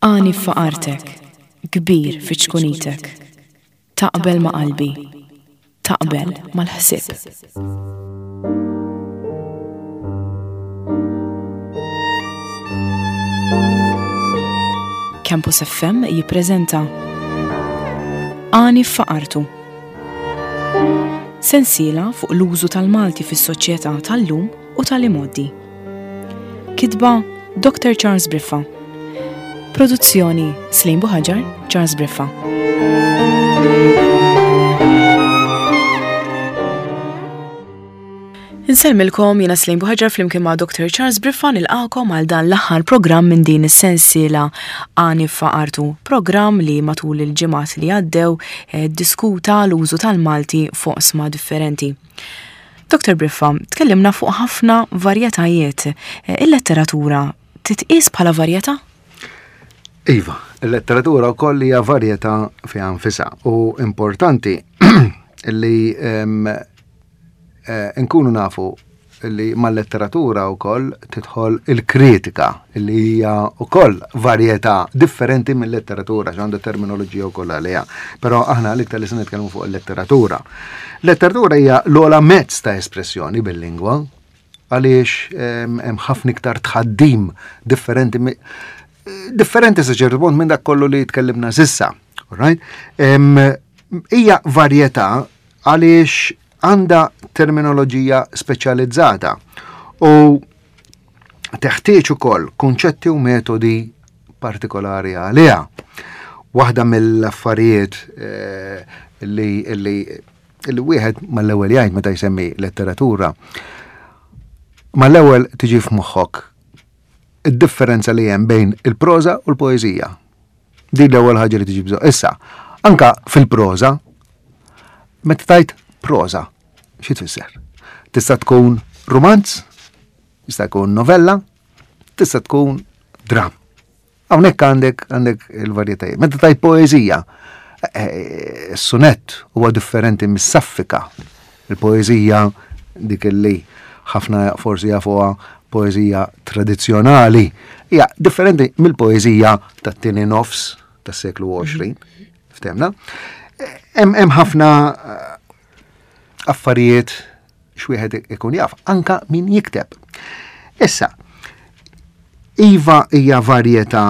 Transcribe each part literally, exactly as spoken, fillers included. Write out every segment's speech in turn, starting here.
Għani f'faqartek, kbir fi ċkunitek. Taqbel ma' qalbi, taqbel mal-ħsieb. Campus F M jippreżenta Għani f'faqartu. Sensiela fuq l-użu tal-Malti fis-soċjetà tal-lum u tal-imgħoddi. Kitba Doctor Charles Briffa. Produzzjoni Slim Buhaġar, Charles Briffa. Insellmilkom, jiena Slim Buhaġar flimkien ma' Doctor Charles Briffa nilqakom għal dan l-aħħar programm minn din is-sensiela Għani f'Faqartu, programm li matul il-ġimgħat li għaddew, eh, diskuta l-użu tal-Malti fuq oqsma differenti. Doctor Briffa, tkellimna fuq ħafna varjetajiet. Eh, il-letteratura titqies bħala varjetà? Iva, il-letteratura wkoll hija varjetà fiha nfisha u importanti li, ehm, eh, nkunu nafu li mal-letteratura wkoll tidħol il-kritika li hija wkoll varjetà differenti mill-letteratura, għax għandha terminoloġija wkoll għaliha. Però aħna l-iktar li se nitkellmu fuq il-letteratura. Letteratura hija l-ogħla mezz ta' espressjoni bil-lingwa għaliex, ehm, hemm ħafna iktar tħaddim differenti mi-, differenti sa ċertu punt minn dak kollu li tkellimna sissa. All right? Ehm, hija varjetà għaliex għandha terminoloġija speċjalizzata u teħtieġ ukoll kunċetti u metodi partikolari għaliha. Waħda mill-affarijiet, eh, li, li, li wieħed mal-ewwel jgħid meta jsemmi letteratura, mal-ewwel tiġi f'moħħok id-differenza li hemm bejn il-proża u l-poeżija. Din l-ewwel ħaġa li tiġi bżonn. Issa, anka fil-proża, meta tajt proża, xi tfisser? Tista' tkun rumanz, tista' tkun novella, tista' tkun dram. Hawnhekk għandek, għandek il-varjetajiet. Meta tajt poeżija, eh, is-sunett huwa differenti mis-saffika. Il-poeżija dik li ħafna forsi jafuha poeżija tradizzjonali hija differenti mill-poeżija tat-tieni nofs tas-seklu għoxrin. Ftemna? Hemm, hemm ħafna, eh, affarijiet x'wieħed ikun jaf, anka min jikteb. Issa, iva hija varjetà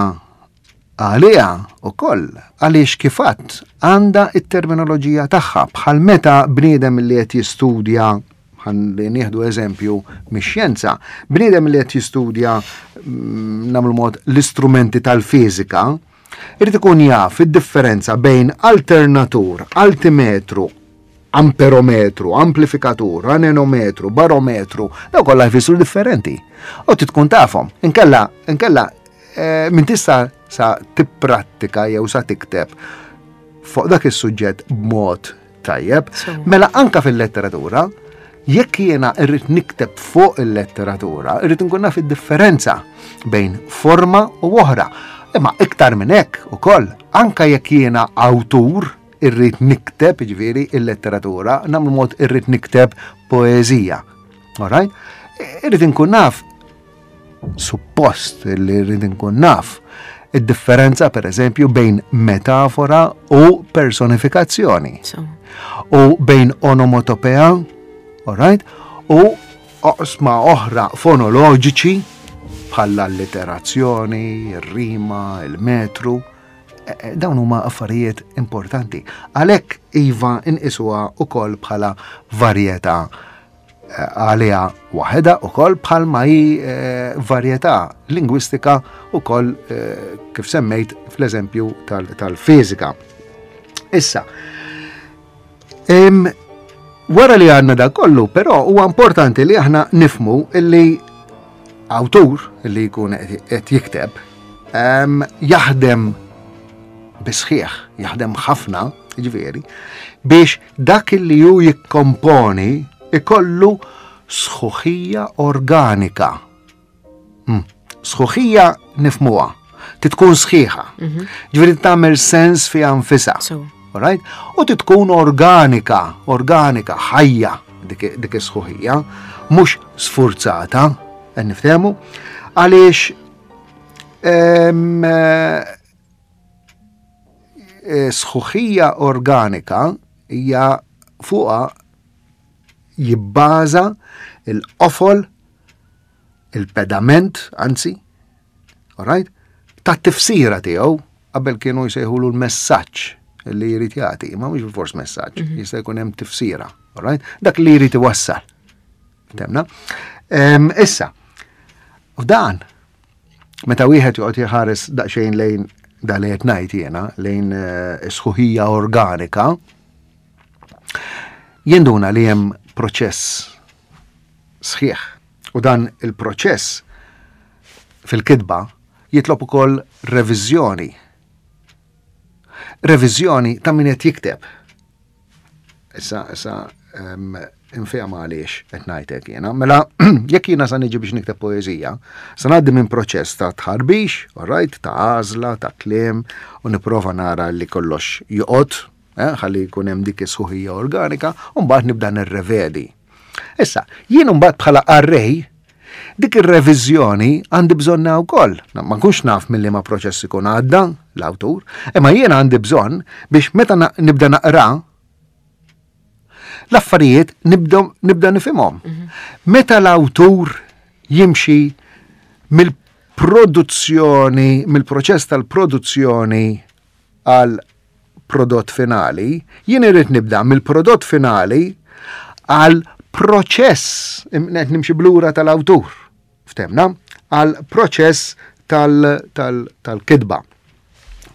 għaliha wkoll għaliex kif għadt għandha t-terminoloġija tagħha bħal meta bniedem li qed jistudja, ħalli nieħdu eżempju mix-xjenza, bniedem li qed jistudja, mm, nagħmlu mod l-istrumenti tal-fiżika, irid ikun jaf id-differenza bejn alternatur, altimetru, amperometru, amplifikatur, anenometru, barometru, daw kollha jfissru differenti. U trid tkun tafhom. Inkella, inkella, eh, min tista' sa tipprattika jew sa tikteb fuq dak is-suġġett b'mod tajjeb. So. Mela anka fil-letteratura, jekk jiena rrid nikteb fuq il-letteratura, irrid nkun naf id-differenza bejn forma u oħra. Imma iktar minn hekk ukoll, anka jekk jiena awtur irrid nikteb, jiġifieri il-letteratura, nagħmlu mod irrid nikteb poeżija. All right? Irrid inkun naf, suppost li rrid inkun naf, id-differenza per eżempju bejn metafora u personifikazzjoni. So. U bejn onomatopea, all right? U oqsma oħra fonoloġiċi bħall-alliterazzjoni, ir-rima, il-metru. E, e, dawn huma affarijiet importanti. Għalhekk iva inqisuha wkoll bħala varjetà, eh, għaliha waħedha wkoll bħalma hi, eh, varjetà lingwistika wkoll, eh, kif semmejt fl-eżempju tal-, tal-fiżika. Issa, em, wara li għandna dak kollu, però huwa importanti li aħna nifmu illi awtur li jkun qed, qed jikteb, em, jaħdem bisħieħ, jaħdem ħafna, ġifieri, biex dak li hu jikkomponi ikollu sħuħija organika. Hmm. Sħuħija nifmuha, titkun sħiħa. Mhm. Ġifieri tagħmel sens fiha nfisha. So. All right? U titkun organika, organika, ħajja dik, dik is-sħuħija, mhux sfurzata, qed niftehmu, għaliex, em, Sħuħija organika hija fuqha jibbaża il-qofol, il-pedament, anzi, all right, ta' tifsira tiegħu. Qabel kienu jsejħulu l-messaġġ li jrid jagħti, ma mhux bilfors messaġġ, mhm. jista' jkun hemm tifsira, all right? Dak li jrid iwassal. Temna? Issa, f'dan, meta wieħed joqgħod jħares daqsxejn lejn da li qed ngħid jiena, lejn eh, sħuħija organika, jinduna li hemm proċess sħiħ. U dan il-proċess fil-kitba jitlob ukoll reviżjoni. Reviżjoni ta' min qed jikteb. Issa, issa, um, infehma għaliex qed ngħidlek jiena. Mela, jekk jiena sa niġi biex nikteb poeżija, sa ngħaddi minn proċess ta' tħarbix, all right, ta' għażla, ta' kliem, u nipprova nara li kollox joqgħod, eh, ħalli jkun hemm dik is-sħuħija organika, u mbagħad nibda nirrevedi. Issa, jien mbagħad bħala qarrej, dik ir-reviżjoni għandi bżonna wkoll. Ma nkunx naf milli ma proċess ikun għadda l-awtur, imma jien għandi bżonn biex meta nibda naqra l-affarijiet nibda nibda nifhimhom. Mhm. Meta l-awtur jimxi mill-produzzjoni, mill-proċess tal-produzzjoni għal prodott finali, jien irrid nibda mill-prodott finali għal proċess, qed nimxi blura tal-awtur, ftemna, għal proċess tal-kitba.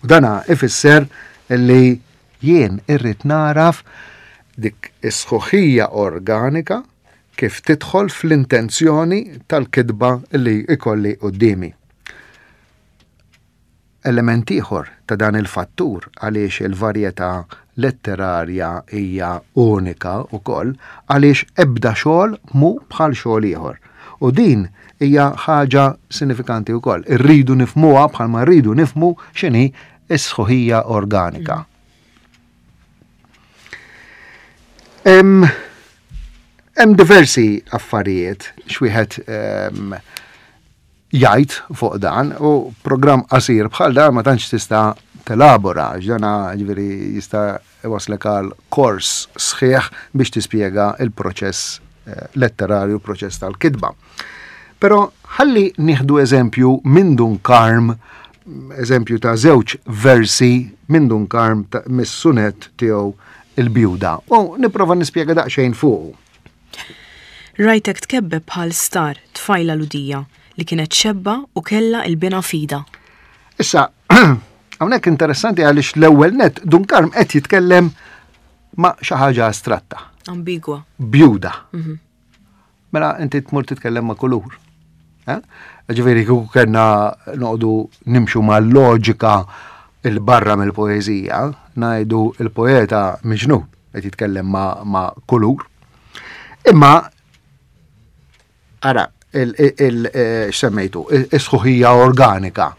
U dana ifisser li jien irrid naraf dik is-sħuħija organika kif tidħol fl-intenzjoni tal-kitba li ikolli quddiemi. Element ieħor ta' dan il-fattur għaliex il-varjetà letterarja hija unika wkoll għaliex ebda xogħol mhu bħal xogħol ieħor. U din hija ħaġa sinifikanti wkoll. Irridu nifhmuha bħalma rridu nifhmu x'inhi s-sħuħija organika. Hemm diversi affarijiet x'wieħed jgħid fuq dan, u programm qasir bħal dan ma tantx tista' telabora, ġdana ġifieri jista' iwaslek għal kors sħiħ biex tispjega il-proċess eh, letterarju, proċess tal-kitba. Però ħalli nieħdu eżempju minn Dun Karm, eżempju ta' żewġ versi minn Dun Karm mis-sunet tiegħu Il-Bjuda, u nipprova nispjega daqsxejn fuqu. Rajtek tkebbeb bħal star, tfajla Lhudija, li kienet xebba u kellha il-bina f'idha. Issa, hawnhekk interessanti għaliex l-ewwel net Dun Karm qed jitkellem ma' xi ħaġa astratta. Ambigwa. Bjuda. Mhm. Mela inti tmur titkellem ma' kulur. Eh? Ġifieri kieku kellna noqogħdu nimxu mal-loġika il-barra mill-poeżija, ngħidu il-poeta miġnun qed jitkellem ma', ma kulur. Imma ara il-semmejtu, eh, is-sħuħija organika.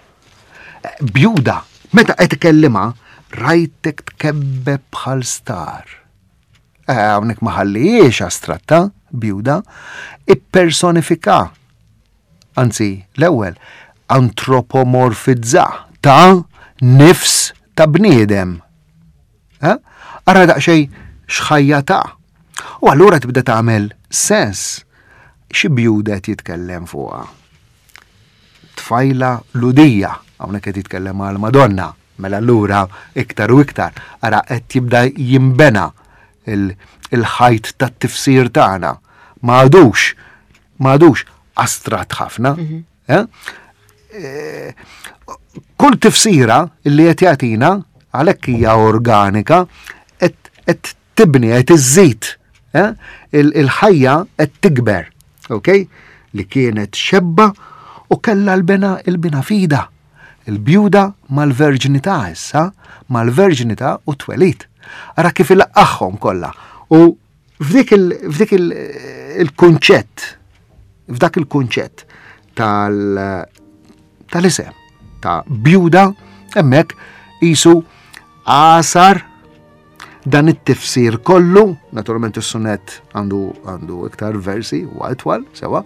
Bjuda, meta qed ikellimha, rajtek tkebbeb bħal star. Eh, hawnhekk ma ħallijiex astratta, bjuda, ippersonifika. Anzi, l-ewwel, antropomorfizza ta' nifs ta' bniedem. Eh? Ara daqsxejn x'ħajja ta'. U allura tibda tagħmel sens xi bjuda qed jitkellem fuqha. Tfajla Lhudija, hawnhekk qed jitkellem għal Madonna, mela allura iktar u iktar ara qed jibda jimbena il-ħajt tat-tifsir tagħna. Ma għadux, ma għadux astratt ħafna. Mhm. Eh? Eh, kull tifsira li qed jagħtina għalhekk hija organika qed tibni, qed iżżid, eh? Il-ħajja qed tikber, ok? Li kienet xebba u kellha l-bena il-bina fida. Il-bjuda mal-verġinità issa, mal-verġinità u twelid. Ara kif ilaqqagħhom kollha. U f'dik il-kunċett, f'dak il-kunċett tal-isem ta' bjuda, hemmhekk qisu għasar dan it-tifsir kollu, naturalment is-sunett għandu għandu iktar versi u itwal, sewa,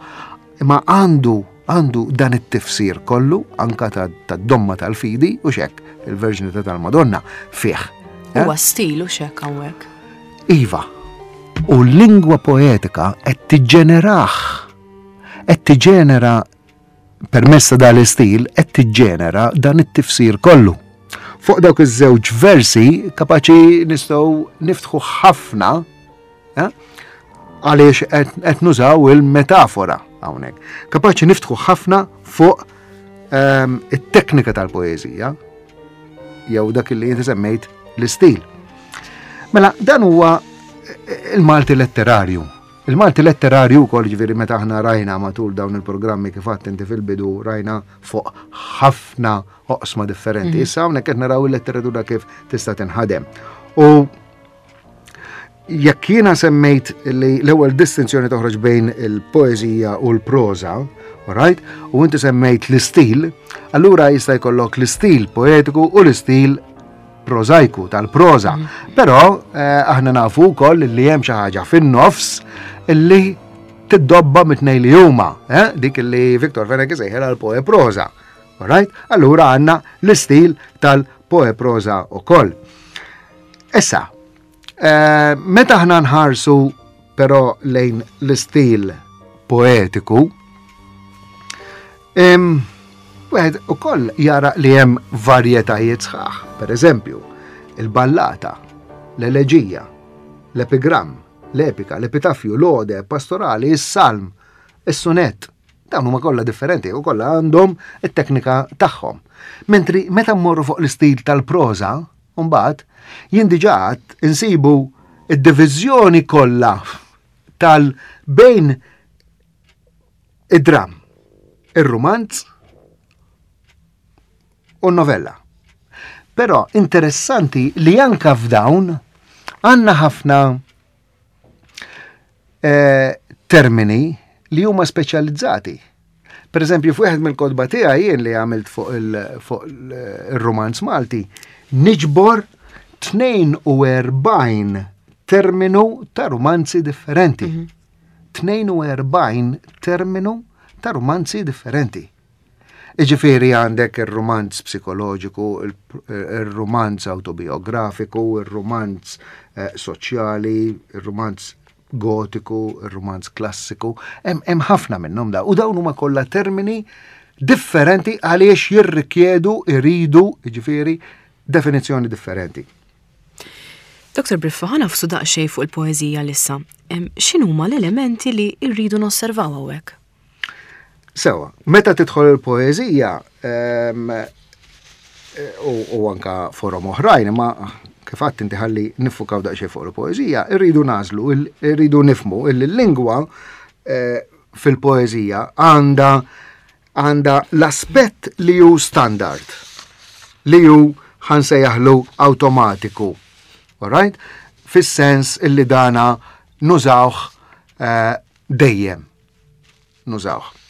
imma għandu għandu dan it-tifsir kollu anka tad-domma tal-fidi u xek il-verġinità tal-Madonna fih. Huwa stil u xek hawnhekk. Iva. U l-lingwa poetika qed tiġġenerah. Qed tiġġenera permezz ta' dan l-istil qed tiġġenera dan it-tifsir kollu. Fuq dawk iż-żewġ versi kapaċi nistgħu niftħu ħafna eh, għaliex qed nużaw il-metafora hawnhekk. Kapaċi niftħu ħafna fuq ehm, it-teknika tal-poeżija jew dak li inti semmejt l-istil. Mela, dan huwa il-Malti letterarju. Il-Malti letterarju wkoll, ġifieri meta aħna rajna matul dawn il-programmi, kif għedt inti fil-bidu, rajna fuq ħafna oqsma differenti. Mm. Issa hawnhekk qed naraw il-letteratura kif tista' tinħadem. U jekk jiena semmejt li l-ewwel distinzjoni toħroġ bejn il-poeżija u l-proża, right? U inti semmejt l-istil, allura jista' jkollok l-istil poetiku u l-istil prożajku tal-proża. Mm. Però eh, aħna nafu wkoll li hemm xi ħaġa fin-nofs illi tiddobba mit-tnejn li huma, eh? Dik li Victor Fenech isejħilha l-poeproża. Alright? Allura għandna l-istil tal-poeproża ukoll. Issa, eh, meta aħna nħarsu però lejn l-istil poetiku, wieħed ukoll jara li hemm varjetajiet sħaħ. Per eżempju, il-ballata, l-eleġija, l-epigram, l-epika, l-epitafju, l-ode, pastorali, is-salm, is-sunet. Dawn huma kollha differenti u kollha għandhom it-teknika tagħhom. Mentri meta mmorru fuq l-istil tal-proża, mbagħad jien diġà insibu id-diviżjoni kollha tal bejn id-dram, ir-rumanz u novella. Però interessanti li anka f'dawn għandna ħafna eh, termini li huma speċjalizzati. Per eżempju, f'wieħed mill-kotba tiegħi jien li għamilt fuq il-romanz Malti, niġbor tnejn u erbgħin terminu ta' romanzi differenti. Mm -hmm. tnejn u erbgħin terminu ta' romanzi differenti. Iġifieri għandek il-romanz psikoloġiku, il-romanz autobiografiku, il-romanz eh, soċjali, il-romanz gotiku, il-romanz klassiku, hemm ħafna minnhom da. U dawn huma kollha termini differenti għaliex jirrikjedu, iridu, ġifieri, definizzjoni differenti. Doktor Briffa, ħa nagħfsu daqsxejn fuq il-poeżija issa. X'inhuma l-elementi li rridu nosservaw hawnhekk? Sewa, meta tidħol il-poeżija u anka forom oħrajn, ma kif għedt inti ħalli niffukaw daqsxejn fuq il-poeżija, irridu nagħżlu, irridu nifhmu il-lingwa eh, fil-poeżija għandha għandha l-aspett li hu standard, li hu ħa nsejjaħlu awtomatiku. Alright? Fis-sens illi dana nużawh eh, dejjem. Nużawh.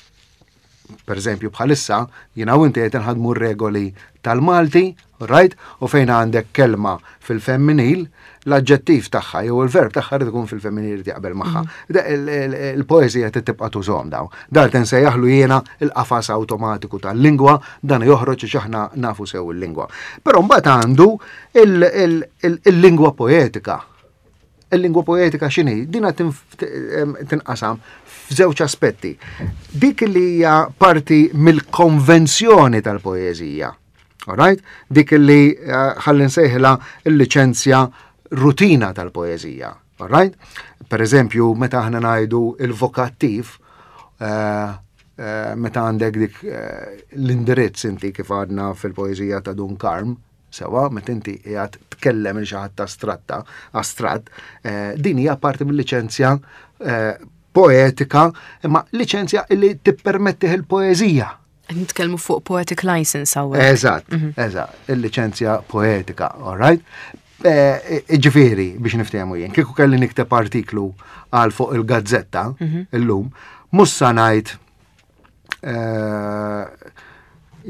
Per eżempju, bħalissa, jiena u inti qed nħadmu regoli tal-Malti, right? U fejn għandek kelma fil-femminil, l-aġġettiv tagħha jew il-verb tagħha rid ikun fil-femminil li jaqbel magħha. Mm. Il-poeżija tibqa' tużhom daw. Dan nsejjaħlu jiena il-qafas awtomatiku tal-lingwa, dan joħroġ għax aħna nafu sew il-lingwa. Però mbagħad għandu il-lingwa poetika. Il-lingwa poetika x'inhi? Dina tinqasam f'żewġ aspetti. Dik li hija parti mill-konvenzjoni tal-poeżija. Alright? Dik li eh, ħalli nsejħilha il-liċenzja rutina tal-poeżija. Alright? Per eżempju, meta aħna ngħidu il-vokattiv, eh, eh, meta għandek dik l-indirizz inti kif għadna fil-poeżija ta' Dun Karm, sewa, meta inti qiegħed tkellem il xi ħadd astratta, astratt, din hija parti mill-liċenzja poetika, imma liċenzja illi tippermettih il-poeżija. Nitkellmu fuq poetic license hawnhekk. Eżatt, mhm. eżatt, il-liċenzja poetika, all right? Eh, ġifieri, biex niftehmu jien, kieku kelli nikteb artiklu għal fuq il-gazzetta mhm. illum, mhux sa ngħid eh,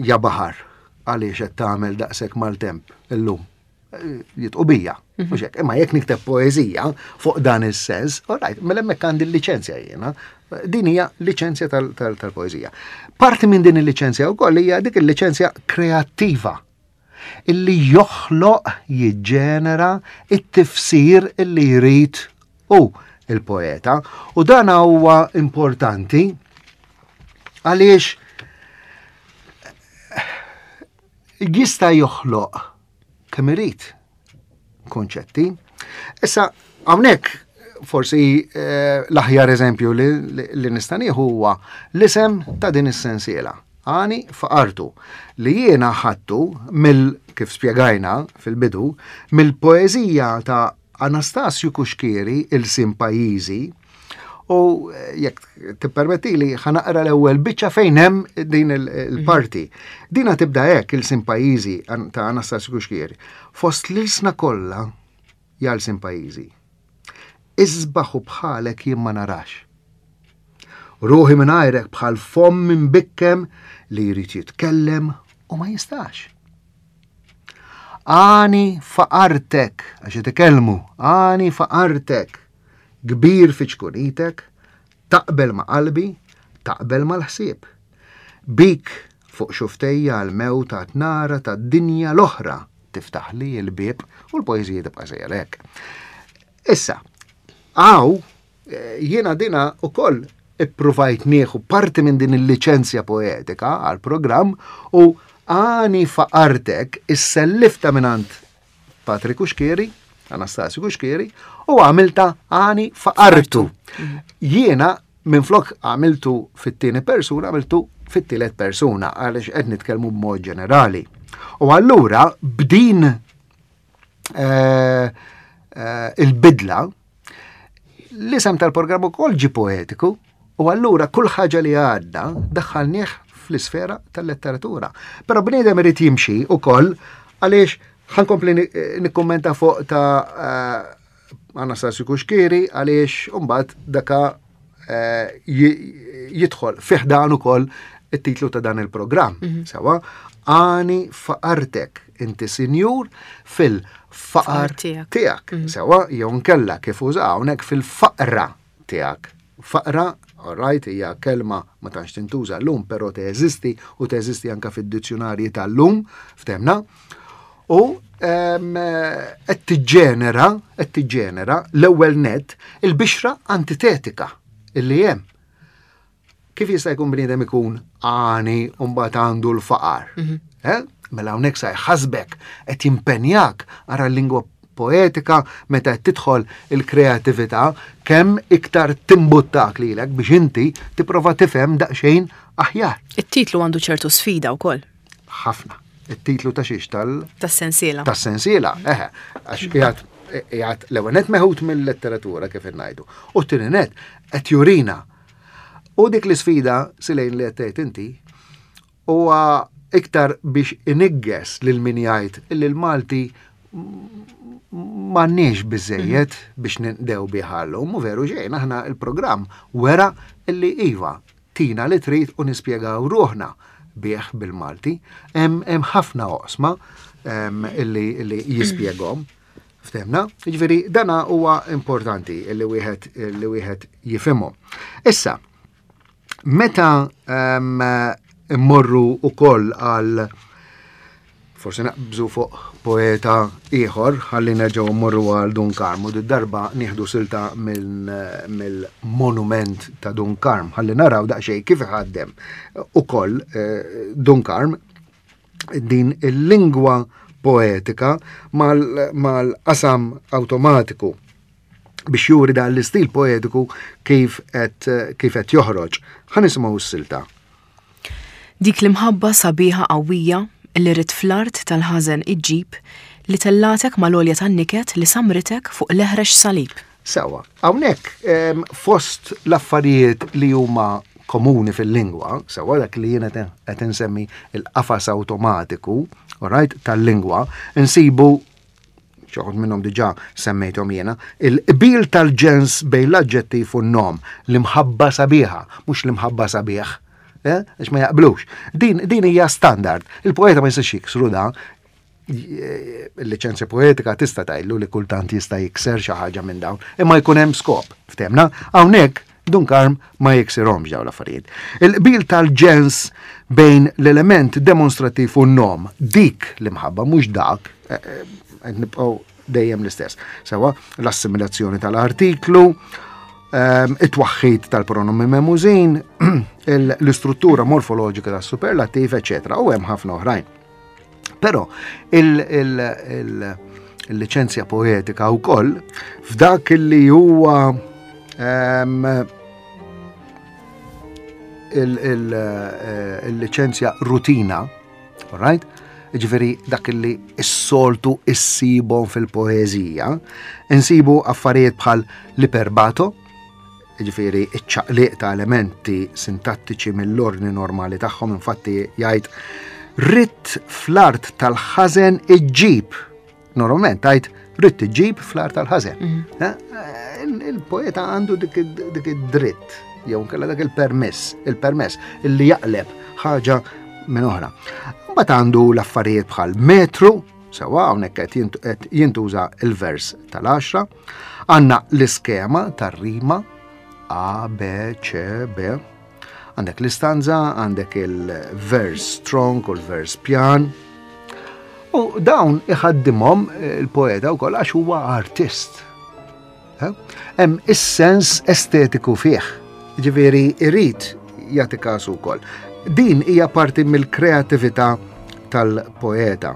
"Ja baħar, għaliex qed tagħmel daqshekk maltemp illum?" Jidħqu bija. Mhm. Mhux hekk, imma jekk nikteb poeżija fuq dan is-sens, all right, mela hemmhekk għandi l-liċenzja jiena. Din hija liċenzja tal-poeżija. Parti minn din il-liċenzja wkoll hija dik il-liċenzja kreattiva. illi joħloq, jiġġenera it-tifsir illi jrid hu il-poeta. U dan huwa importanti għaliex jista' joħloq kemm irid konċetti. Issa hawnhekk forsi eh, l-aħjar eżempju li, li, li nista' nieħu huwa l-isem ta' din is-sensiela. Għani faqartu, li jiena ħadtu mill, kif spjegajna fil-bidu, mill-poeżija ta' Anastasju Cuschieri, Ilsien Pajjiżi, u jekk tippermettili ħa naqra l-ewwel biċċa fejn hemm din il-parti. Dina tibda hekk, Ilsien Pajjiżi ta' Anastasju Cuschieri. Fost l-ilsna kollha ja lsien pajjiżi. Isbaħ u bħalek jien ma narax. Ruħi mingħajrek bħal fomm imbikkem li jrid jitkellem u ma jistax. Għani faqartek, għax jitkellmu, għani faqartek, kbir fi ċkunitek, taqbel ma' qalbi, taqbel mal-ħsieb. Bik fuq xuftejja l-mewt ta' tnara ta' dinja l-oħra tiftaħ li l-bieb, u l-poeżija tibqa' sejra hekk. Issa, għaw, jiena dina u koll ippruvajt nieħu parti minn din il-liċenzja poetika għal-programm u għani faqartek issellifta mingħand Patri Cuschieri, Anastasju Cuschieri, u għamilta għani faqartu. Jiena minn flok għamiltu fit-tieni persuna, għamiltu fit-tielet persuna, għaliex qed nitkellmu b'mod ġenerali. U allura b'din, eh, eh, il-bidla, l-isem tal-programm ukoll ġi poetiku, u allura kull ħaġa li għadda daħħalnieh fl-isfera tal-letteratura. Però bniedem irid jimxi ukoll, għaliex ħankompli ni-, nikkummenta fuq ta', eh, Anastasju Cuschieri, għaliex mbagħad daka, eh, ji-, jidħol fih dan ukoll it-titlu ta' dan il-programm. Mhm. Sewa, għani faqartek, inti sinjur fil-faqar Faqar tiegħek. tiegħek. Mhm. Sewa, jew nkella kif uża hawnhekk fil-faqra tiegħek. Faqra, all right, hija kelma ma tantx tintuża llum, però teżisti u teżisti anka fid-dizzjonarji tal-lum, ftemna. U, em, qed tiġġenera, qed tiġġenera l-ewwel net il-bixra antitetika illi hemm. Kif jista' jkun bniedem ikun għani u mbagħad għandu l-faqar? Mhm. Eh? Mela hawnhekk sa jħasbek, qed jimpenjak ara l-lingwa poetika meta qed tidħol il-kreatività kemm iktar timbuttak lilek biex inti tipprova tifhem daqsxejn aħjar. It-titlu għandu ċertu sfida wkoll. Ħafna. It-titlu ta' xiex tal- Tas-sensiela. Tas-sensiela, eħe, għax qiegħed, qiegħed l-ewwel net meħud mill-letteratura kif ngħidu. U t-tieni net qed jurina. U dik l-isfida silejn li qed tgħid inti huwa iktar biex inigges lil min jgħid illi l-Malti m'għandniex biżejjed biex ninqdew bih llum, u veru xejn, aħna il-programm wera illi iva tina li trid u nispjegaw ruħna bih bil-Malti. Hemm, hemm ħafna oqsma, em, illi, illi jispjegahom. Ftemna? Jiġifieri dana huwa importanti illi wieħed, illi wieħed jifhimhom. Issa, meta, em, immorru ukoll għal forsi naqbżu fuq poeta ieħor, ħalli nerġgħu mmorru għal Dun Karm, u darba nieħdu silta mill-, mill-monument ta' Dun Karm, ħalli naraw daqsxejn kif iħaddem ukoll, eh, Dun Karm din il-lingwa poetika mal-, mal-qasam awtomatiku biex juri dan l-istil poetiku kif qed, kif qed joħroġ. Ħa nisimgħu s-silta. Dik l-imħabba sabiħa qawwija li rrid fl-art tal-ħażen iġġib li tellatek mal-għolja tan-niket li samritek fuq l-eħrex salib. Sewa, hawnhekk, em, fost l-affarijiet li huma komuni fil-lingwa, sewa dak li jiena qed, qed insemmi il-qafas awtomatiku, all right, tal-lingwa, insibu xi minnhom diġà semmejthom jiena, il-qbil tal-ġens bejn l-aġġettiv u n-nom, l-imħabba sabiħa, mhux l-imħabba sabiħ, eh, għax ma jaqblux. Din, din hija standard. Il-poeta ma jistax jiksru da, il-liċenzja poetika tista' tgħidlu li kultant jista' jikser xi ħaġa minn dawn, imma jkun hemm skop, ftemna? Hawnhekk Dun Karm ma jiksirhomx dawn l-affarijiet. Il-qbil tal-ġens bejn l-element demonstrattiv u n-nom, dik l-imħabba, mhux dak, eh, eh, nibqgħu dejjem l-istess. Sewa, l-assimilazzjoni tal-artiklu, ehm, it-twaħħid tal-pronomi memużin, l-istruttura morfoloġika tas-superlattiv, eċetera, u hemm ħafna oħrajn. Però il-liċenzja poetika wkoll f'dak li huwa ehm, eh, il-liċenzja rutina, right? Ġifieri dak li s-soltu issibhom fil-poeżija, insibu affarijiet bħal l-iperbato, ġifieri iċ-ċaqliq ta' elementi sintattiċi mill-ordni normali tagħhom, infatti jgħid ridt fl-art tal-ħażen iġġib. Normalment tgħid ridt iġġib fl-art tal-ħażen. Mhm. Eh, il-poeta għandu dik id-dritt, jew nkella dak il-permess, il-permess illi jaqleb ħaġa minn oħra. Mbagħad għandu l-affarijiet bħal metru, sewa hawnhekk qed jintuża il-vers tal-għaxra, għandna l-iskema tar-rima A, B, C, B. Għandek l-istanza, għandek il-vers strong u l-vers pjan. U dawn iħaddimhom il-poeta wkoll għax huwa artist. Hemm is-sens estetiku fih. Ġifieri irid jagħti kasu wkoll. Din hija parti mill-kreatività tal-poeta.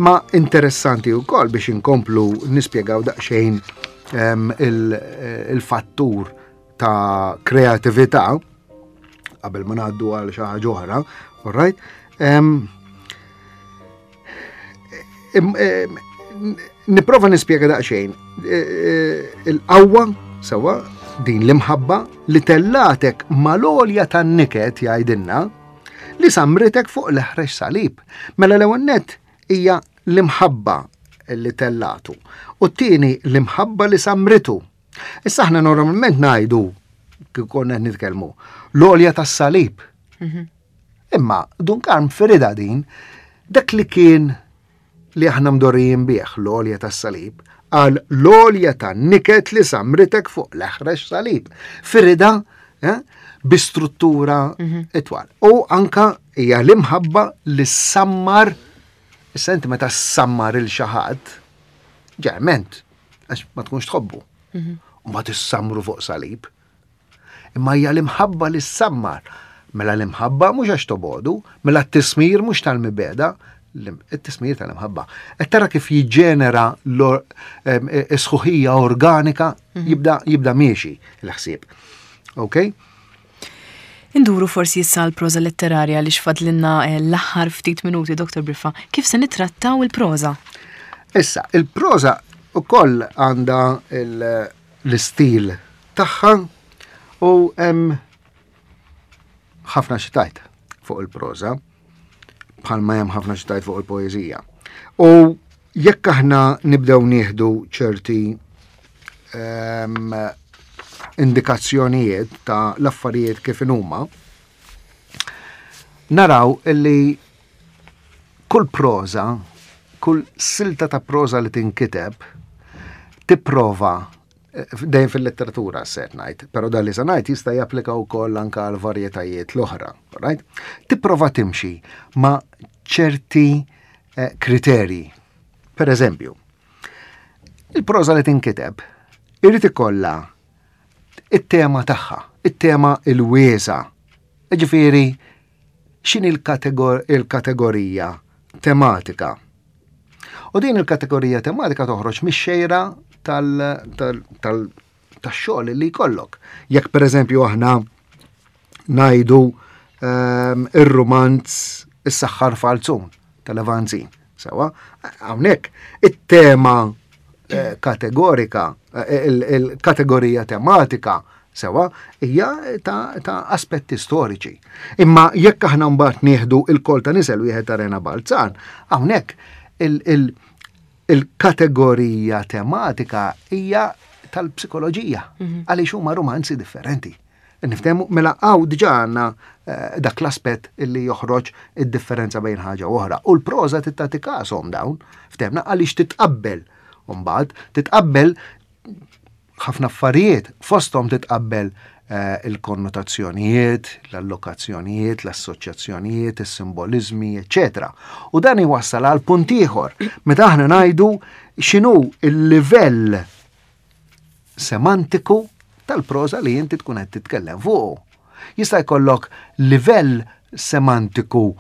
Ma interessanti wkoll biex inkomplu nispjegaw daqsxejn il-fattur ta' kreatività qabel ma ngħaddu għal xi ħaġa oħra, all right? Um, Nipprova nispjega daqsxejn. E, e, il-qawwa sewa din l-imħabba li tellatek mal-għolja tan-niket jgħidilna li samritek fuq l-eħrex salib. Mela l-ewwel nett hija l-imħabba li tellatu. U t-tieni l-imħabba li samritu. Issa aħna normalment ngħidu kif konna qed nitkellmu l-għolja tas-salib. Mhm. Imma Dun Karm firida din dak li kien li aħna mdorrijin bih l-għolja tas-salib għal l-għolja tan-niket li samritek fuq l-eħrex salib. Firida eh, bi struttura mhm. itwal. U anka hija l-imħabba li sammar, issa inti meta sammar il xi ħadd, ġerment, għax ma tkunx tħobbu. Mhm. U ma tissamru fuq salib. Imma hija l-imħabba li ssammar. Mela l-imħabba mhux għax tobodu, mela t-tismir mhux tal-mibeda, it-tismir tal-imħabba. Qed tara kif jiġġenera s-sħuħija organika mhm. jibda jibda miexi l-ħsieb. Ok? Induru forsi issa l-proża letterarja li xfadlinna eh, l-aħħar ftit minuti, Doktor Briffa. Kif se nittrattaw il-proża? Issa, il-proża ukoll għandha l-istil tagħha u hemm ħafna xi tgħid fuq il-proża bħalma hemm ħafna xi tgħid fuq il-poeżija. U jekk aħna nibdew nieħdu ċerti um, indikazzjonijiet ta' l-affarijiet kif huma, naraw illi kull proża, kull silta ta' proża li tinkiteb, tipprova dejjem fil-letteratura se ngħid, però dan li se ngħid jista' japplika wkoll anke għal varjetajiet l-oħra, right? Tipprova timxi ma' ċerti eh, kriterji. Per eżempju, il-proża li tinkiteb irid ikollha it-tema tagħha, it-tema il-wiesa. Ġifieri, x'inhi il-kategorija tematika? U din il-kategorija tematika toħroġ mix-xejra tax-xogħol li jkollok. Jekk pereżempju aħna ngħidu ehm, ir-rumanz Is-Saħħar Falzun tal-Evanzin. Sewa, hawnhekk it-tema eh, kategorika, eh, il-kategorija tematika sewa, hija ta', ta aspetti storiċi. Imma jekk aħna mbagħad nieħdu il-kol ta' nisel wieħed ta' Rena Balzan, hawnhekk il-kategorija tematika hija tal-psikoloġija, mhm. għaliex huma romanzi differenti. Niftehmu, mela hawn diġà għandna eh, dak l-aspett illi joħroġ id-differenza bejn ħaġa u oħra. U l-proża tagħti kashom dawn, ftehmna għaliex titqabbel. Mbagħad titqabbel ħafna affarijiet, fosthom titqabbel eh, il-konnotazzjonijiet, l-allokazzjonijiet, l-assoċjazzjonijiet, is-simbolizmi, eċċetera. U dan iwassal għal punt ieħor meta aħna ngħidu x'inhu il-livell semantiku tal-proża li inti tkun qed titkellem fuq. Jista' jkollok livell semantiku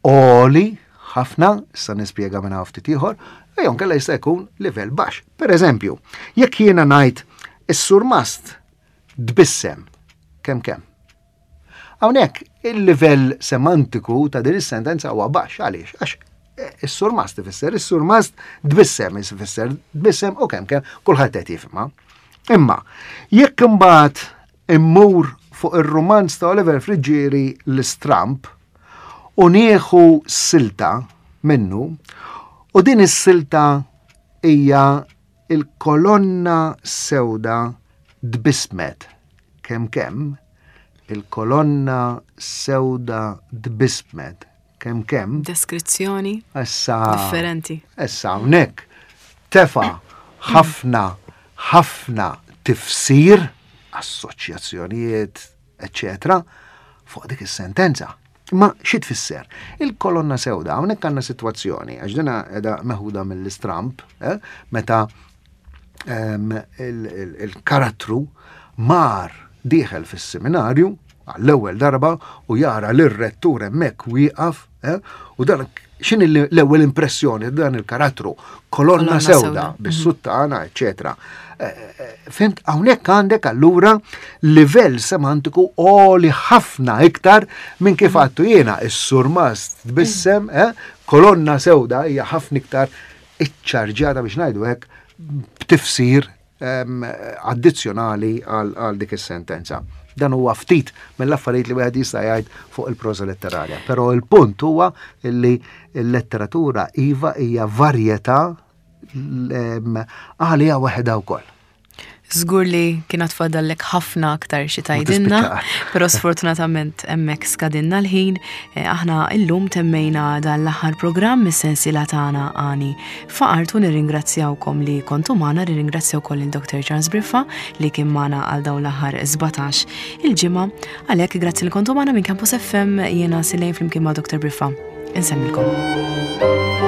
għoli ħafna, issa nispjega minn ftit ieħor, jew inkella jista' jkun livell baxx. Per eżempju, jekk jiena ngħid is-surmast tbissem kemm kemm. Hawnhekk il-livell semantiku ta' din is-sentenza huwa baxx. Għaliex? Għax eh, is-surmast ifisser, is-surmast tbissem ifisser, tbissem u kemm kemm kulħadd qed jifhimha. Imma jekk imbagħad immur fuq ir-rumanz ta' Oliver Friggieri, L-Istramb, u nieħu silta minnu, u din is-silta hija "Il-kolonna sewda tbissmet kemm kemm, il-kolonna sewda tbissmet kemm kemm." Deskrizzjoni Issa differenti. Issa hawnhekk tefa' ħafna ħafna tifsir, assoċjazzjonijiet, eċċetera, fuq dik is-sentenza. Ma xi tfisser? Il-kolonna sewda, hawnhekk għandna sitwazzjoni, għax dina qiegħda meħuda mill-Istramb, eh, meta em, il- il- il-karattru mar dieħel fis-seminarju għall-ewwel darba u jara lir-rettur hemmhekk wieqaf, eh, u dan x'inhi l-ewwel impressjoni dan il-karattru? Kolonna Kolonna sewda sewda. bis-suttana, eċċetera. Eh, eh, Fhimt, hawnhekk għandek allura livell semantiku għoli ħafna iktar minn kif għedtu jiena is-surmast tbissem, eh, kolonna sewda hija ħafna iktar iċċarġjata, biex ngħidu hekk, b'tifsir em, addizzjonali għal għal dik is-sentenza. Dan huwa ftit mill-affarijiet li wieħed jista' jgħid fuq il-proża letterarja. Però il-punt huwa li l-letteratura iva hija varjetà em, għalija waħedha wkoll. Żgur li kien fadallek ħafna aktar xi tgħidilna, tispiċċa. però sfortunatament hemmhekk skadinna l-ħin. Eh, Aħna illum temmejna dan l-aħħar programm mis-sensiela tagħna Għani F'Artu. Nirringrazzjawkom li kontu magħna, nirringrazzjaw ukoll il-Doktor Charles Briffa li kien magħna għal dawn l-aħħar sbatax il-ġimgħa. Għalhekk grazzi li kontu magħna. Minn Campus F M jiena Silejn flimkien ma' Doktor Briffa. Insemmilkom.